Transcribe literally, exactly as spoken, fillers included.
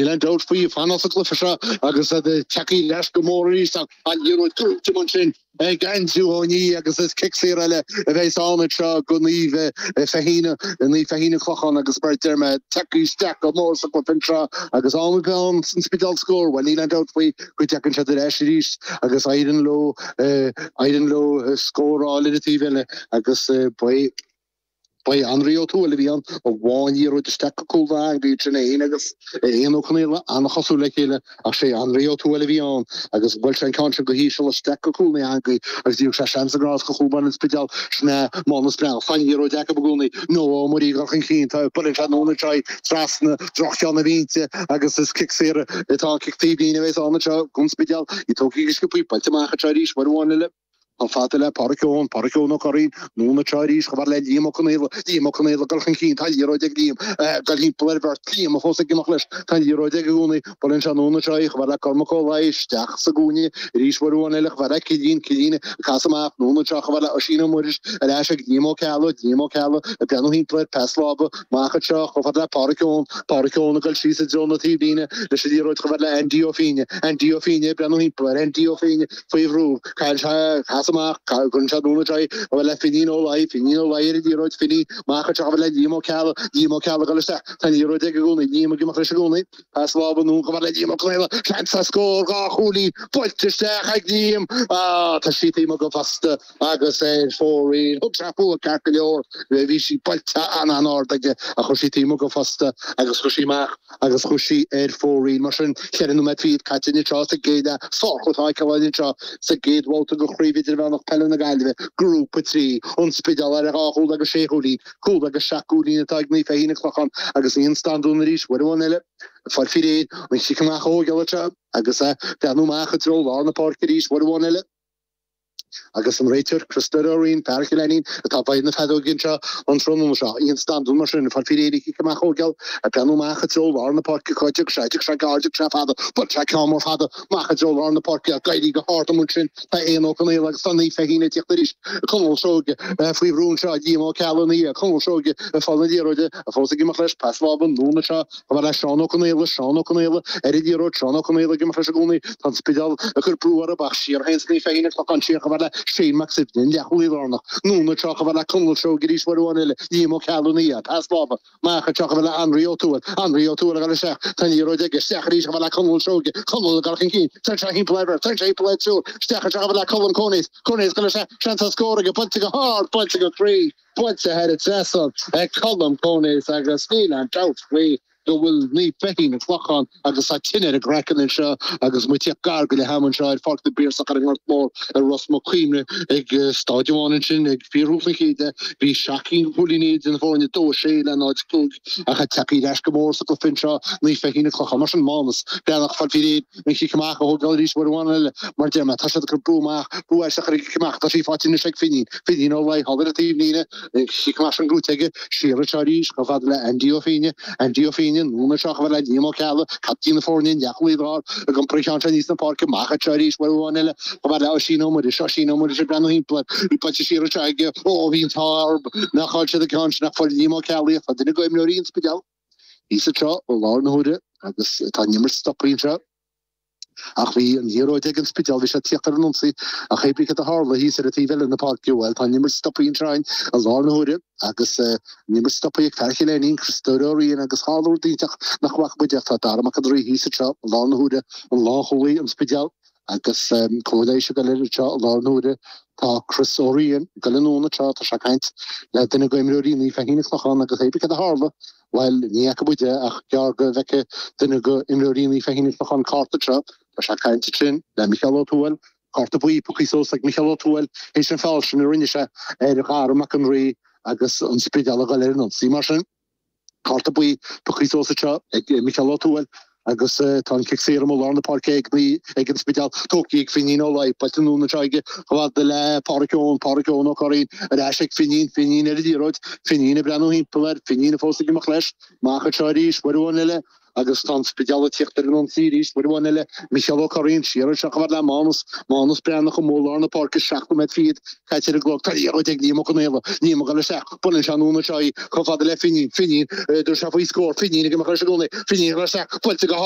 Níl aon dabht faoi fanacht sa chluiche seo agus tagtha ar ais go mór arís an liathróid gnóthaithe ansin ag Andrew Ó Ní agus is cic saor eile a bheidh ann seo go Naomh Feichín Naomh Feichín an Clochán agus mar a deir mé tagtha isteach go mór sa chluiche seo agus am an san Spidéal scór well níl aon dabht faoi go dtagann siad ar ais arís agus éiríonn leo éiríonn leo scóráil ar an taobh eile agus ba Ba Anraí Ó Tuathail a bhí ann a bhain an liathróid isteach go cúl na heangaí sin é agus Éanna Ó Conaola an-chosúil le chéile ach sé Anraí Ó Tuathail a bhí ann agus bhuail sé an ceann sin go híseal isteach go cúl na heangaí agus bhí sé seans an grás go chúl an Spidéal sin Mánas Breathnach tá an liathróid acu i gcónaí Noah Ó Muirí chun cinn tá buaileann sé anonn anseo trasna droch-cheann na bhinse agus is cic saor atá cic taobhlíne a bheas ann anseo don Spidéal í tógtha go sciobtha buailte amach anseo arís uair amháin eile. Chomh fada le Pádraic Eoin, Pádraic Eoin Ó Curraoin, anonn anseo arís chomh fada le Liam Ó Conaola, Liam Ó Conaola ag dul chun cinn, tá an liathróid ag Liam, ag dul thimpeall ar bheirt, Liam fós ag imeacht leis, tá an liathróid aige i gcónaí, buaileann sé anonn anseo í chomh fada le Cormac Ó Laoi, isteach sa gcúinne arís uair amháin eile chomh fada le Cillian, Cillian ag casadh amach, anonn anseo chomh fada le Oisín Ó Muiris, ar ais ag Liam Ó Ceallaigh, Liam Ó Ceallaigh ag breathnú thimpeall air, pas láimhe, amach anseo chomh fada le Pádraic Eoin, Pádraic Eoin ag dul síos i dtreo na taobhlíne leis an liathróid chomh fada le Andy Ó Fínne, Andy Ó Fínne ag breathnú thimpeall air, Andy Ó Fínne faoi bhrú, cailleann sé, casadh amach, cuireann sé anonn anseo í, chomh fada le Finín Ó Laoi, Finín Ó Laoi ar an liathróid, Finí, amach anseo chomh fada le Liam Ó Ceallaigh, Liam Ó Ceallaigh ag dul isteach, tá an liathróid aige i gcónaí, Liam ag imeacht leis i gcónaí, pas láimhe anonn chomh fada le Liam Ó Conaola, seans ar scór, dhá chúilín, buailte isteach ag Liam, ah, tá sí taobh amuigh go fosta agus ar fóraoil, thug sé fúithi ceart go leor, bhí sí buailte an-an-ard aige ach chuaigh sí taobh amuigh go fosta agus chuaigh sí amach agus chuaigh sí ar fóraoil. Mar sin, ceithre nóiméad fichead caite anseo sa gcéad leath, sárchluiche á fheiceáil anseo sa gcéad bhabhta de Chraobh Idirmheánach Peile na Gaillimhe, Grúpa trí, An Spidéal ar dhá chúl agus sé chúilín, cúl agus seacht gcúilín atá ag Naomh Feichín an Clochán agus Ian Standún arís, uair amháin eile, ag fáil faoi réir, an chic amach a thógáil anseo agus é ag breathnú amach i dtreo lár na páirce arís, uair amháin eile. Agus an réiteoir, Christopher Ó Riain, fear Chill Ainnín, atá i bhfeighil na feadóige anseo an tráthnóna seo. Ian Standún mar sin, ag fáil faoi réir an cic amach a thógáil, ag breathnú amach i dtreo lár na páirce, cá dtiocfaidh sé, tiocfaidh sé gar, tiocfaidh sé fada, buailfidh sé ceann mór fada amach i dtreo lár na páirce, ag éirí go hard amuigh ansin, tá Éanna Ó Conaola agus tá Naomh Feichín ag tíocht arís, Conall Seoige faoi bhrú anseo, Liam Ó Ceallaigh ina dhiaidh, Conall Seoige ag fáil na liathróide, fós ag imeacht leis, pas láimhe anonn anseo, chomh fada le Seán Ó Conaola, Seán Ó Conaola ar an liathróid, Seán Ó Conaola ag imeacht leis i gcónaí, tá an Spidéal ag cur brú orthu ach siar a théanns Naomh Feichín an Clochán siar chomh fada le Shane Mac Suibhne, an leathchúlaí lárnach, anonn anseo chomh fada le Conall Seoige arís uair amháin eile, Liam Ó Ceallaigh ina dhiaidh, pas láimhe, amach anseo chomh fada le Anraí Ó Tuathail, Anraí Ó Tuathail ag dul isteach, tá an liathróid aige, isteach arís chomh fada le Conall Seoige, Conall ag dul chun cinn, téann sé thimpeall ar bheirt, téann sé thimpeall ar triúr, isteach anseo chomh fada le Colm Coneys, Coneys ag dul isteach, seans ar scór aige, buailte go hard, buailte go croí, buailte thar an trasnán ag Colm Coneys agus níl aon dabht faoi go bhfuil Naomh Feichín an Clochán agus tá tine ar a gcraiceann anseo agus muid ag tíocht gar go leath ama anseo ar Pháirc na bPiarsach ar an nGort Mór i Ros Muc Cuimhne ag staid amháin ansin ag fíorthús an chéad leath bhí seacht gcinn de chúilíní idir na foirne dó a sé le náid a cúig ach tá tagtha ar ais go mór sa gcluiche anseo Naomh Feichín an Clochán mar sin Mánas Breathnach ag fáil faoi réir an chic amach a thógáil arís uair amháin eile mar deir mé tá siad ag cur brú amach brú isteach ar an gcic amach tá sí faighte anois ag Finín Finín Ó Laoi thall ar an taobhlíne an cic amach sin gnóthaithe aige siar anseo arís chomh fada le Andy Ó Fínne Andy Ó Fínne anonn anseo chomh fada le Liam Ó Ceallaigh captaen na foirne an leathchúlaí láir ag iompar an cheann seo aníos na páirce amach anseo arís uair amháin eile chomh fada le Oisín Ó Muiris Oisín Ó Muiris ag breathnú thimpeall air í buailte siar anseo aige ó bhí an t-ádh orthu nach chaill siad an ceann sin ach fuair Liam Ó Ceallaigh tá duine d'imreoirí an Spidéil thíos anseo i láthair na huaire agus tá an imirt stoptha anseo. Ach bhí an liathróid ag an Spidéal, bhí sé ag tíocht ar an ionsaí, ach hé brí cad a tharla thíos ar an taobh eile na páirce, bhuel, tá an imirt stoptha anseo i láthair na huaire agus an imirt stoptha ag fear Chill Ainnín, Christopher Ó Riain agus tharla rud iontach nach bhfaca muid ach tá Dara Mac an Draoi thíos anseo i láthair na huaire, an lánchúlaí an Spidéal agus comhairle leighis ag dul air anseo i láthair na huaire. Tá Chris Ó Riain ag dul anonn anseo, tá sé ag caint le duine d'imreoirí Naomh Feichín an Clochán agus hé brí cad a tharla, Bhuel, ní fhaca muid é ach gearr go bhfeicfidh duine d'imreoirí Naomh Feichín an Clochán cárta anseo. Tá sé ag caint ansin le Micheál Ó Tuathail, cárta buí pioctha suas ag Micheál Ó Tuathail théis an feall sin a rinne sé ar Dhara Mac an Rí agus an Spidéal ag dul ar an ionsaí mar sin. Cárta buí pioctha suas anseo ag Micheál Ó Tuathail agus tá an cic saor amuigh i lár na páirce ag ag an Spidéal tógtha ag Finín Ó Laoi, buailte anonn anseo aige chomh fada le Pádraic Eoin, Pádraic Eoin Ó Curraoin ar ais ag Finín, Finín ar an liathróid, Finín ag breathnú thimpeall air, Finín fós ag imeacht leis, amach anseo arís, uair amháin eile agus tá an Spidéal ag tíocht ar an ionsaí arís, uair amháin eile, Micheál Ó Curraoin siar anseo chomh fada le Mánas, Mánas Breathnach amuigh i lár na páirce, seacht nóiméad fichead caite ar an gclog, tá an liathróid ag Liam Ó Conaola, Liam ag dul isteach, buaileann sé anonn anseo í chomh fada le Finín, Finín, dtabharfaidh sé faoi scór, Finín ag imeacht leis i gcónaí, Finín ag dul isteach, buailte go